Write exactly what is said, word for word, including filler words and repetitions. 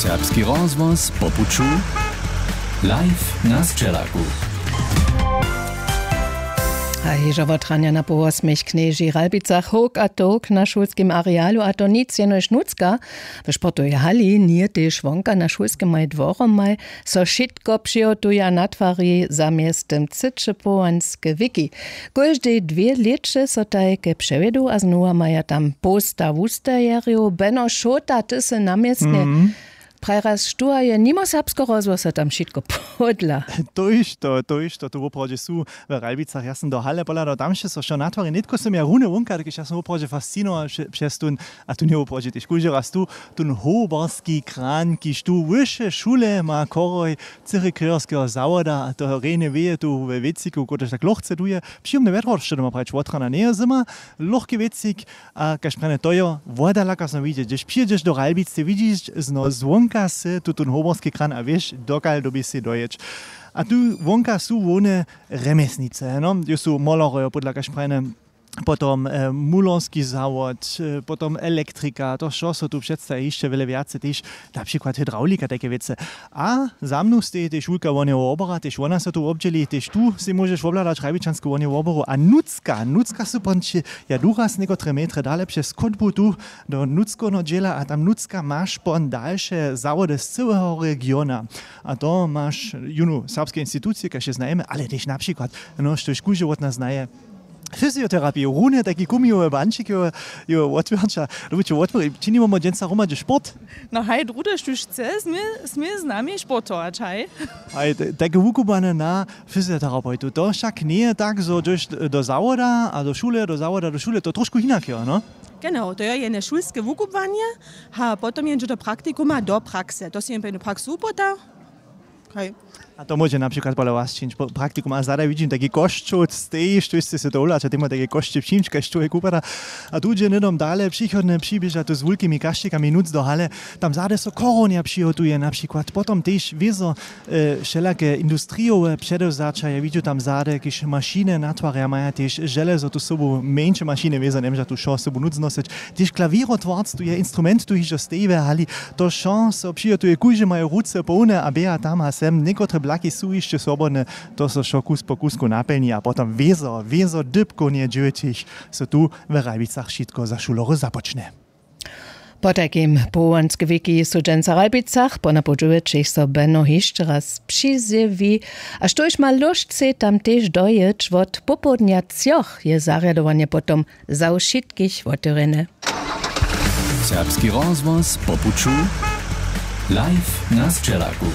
Serbski rozhłos po puću, live na sćelaku. A hižo wotranja na połosmich knježi ralbicach howk a towk na šulskim arealu, a to nic jenož nutřka. W sportowej hali njeje tež wonka na šulskemaj dworomaj so wšitko přihotuja, natwari zamjeztym cyće połanske wiki. Kóždej dwě lěće so tajke přewjedu a znowa maja tam połsta wustajerjow. Beno Šota, ty sy na městnje. Prajraz, štó je nimo serbskeho rozhłosa tam wšitko podla? To išto, to išto tu woprawdźe su w Ralbicach. Ja sym do hale pohladał, tam sće so wšo natwari. Nětko sym ja runje wonka, dokelž ja sym woprawdźe fascinował přez tón, a tón je woprawdźe tež kóždy raz tu, tón hołbarski kran, kiž tu wyše šule ma chorhoj cyry krjejerskeho zawoda, a to rjenje wěje tu we wěciku, kotryž tak lochce duje. Přijomne wjetro, što doma prajić, wotrana njeje zyma, lochki wěcik. A kaž prjene, to jo, woda laka so widźeć, hdyž přijedźeš do Ralbic, ty widźiš zno zwonka sy tutón hołbarski kran a wěš, dokal dyrbiš sej dojěć. A tu wonka su hłowne rjemjesnice, no, jo, su molory, jo, podla kaž prjene, potom mulerski zawod, potom elektrika, to wšo so tu předstaji, hišće wjele wjace tež, na přikład hydrawlika, tajke wěcy. A za mnu steji tež wulka wohnjowa wobora, tež wona so tu wobdźěli. Tež tu sej móžeš wobhladać ralbičansku wohnjowu woboru. A nutřka nutřka su pon će, ja duraz někotre metry dale přez chódbu tu do nutřkowneho dźěla, a tam nutřka maš pon dalše zawody z cyłeho regiona. A to maš jónu serbske institucije, kaž je znajemy, ale tež na přikład, no, štož kóždy wot nas znaje, fyzioterapiju, runje tajki kumijowe bančik jo, jo wotwěrća. Dobujće wotwěri, činimy dźensa hromadźe sport. No haj, druhdy, štóž chce, smě, smě z nami sportować, haj. Haj, tajke wukubłane na fyzioterapeutu, to wšak njeje tak, zo dźeš do zawoda a do šule, do zawoda do šule, to trošku hinak jo, no? Genau, to je jene šulske wukubłanje, a potom jendźe do praktikuma, do prakse, to si jen pejnu praksu upłota. Haj. A to móže na přikład pola was čińć praktikum, a zadaj widźim tajki košćoł, stej, štóž sće se to wolaće, temoj tajke košće přińć, kaž čłowjek wupada. A tu dźe hnydom dale, přichodnje přiběža tu z wulkimi kašćikami nutř do hale. Tam zady so chorhowanja přihotuje na přikład, potom tež wězo wšelake industrijowe předewzaća, ja widźu tam zady, kiž mašiny natwarja, maja tež železo tu sobu, mjeńše mašiny wězo, njemóža tu wšo sobu nutř nosyć. Tež klawěrotwarc tu je, instrument tu hižo steji we hali. To wšo so přihotuje, kóždy maje ruce połne a běha tam a sem, někotre blaki su hišće swobodne. To so wšo kus po kusku napjelni a potom wězo wězo dypkownje dźewjećich so tu w Ralbicach wšitko za šulory započnje. Potajkim połanske wiki su dźensa w Ralbicach, ponapoł dźewjećich so beno hišće raz přizjewi. A štóž ma lóšcej tam tež dojěć, wot popołdnja třoch je zarjadowanje potom za wšitkich wotewrjene. Serbski rozhłos po puću, live na sćelaku.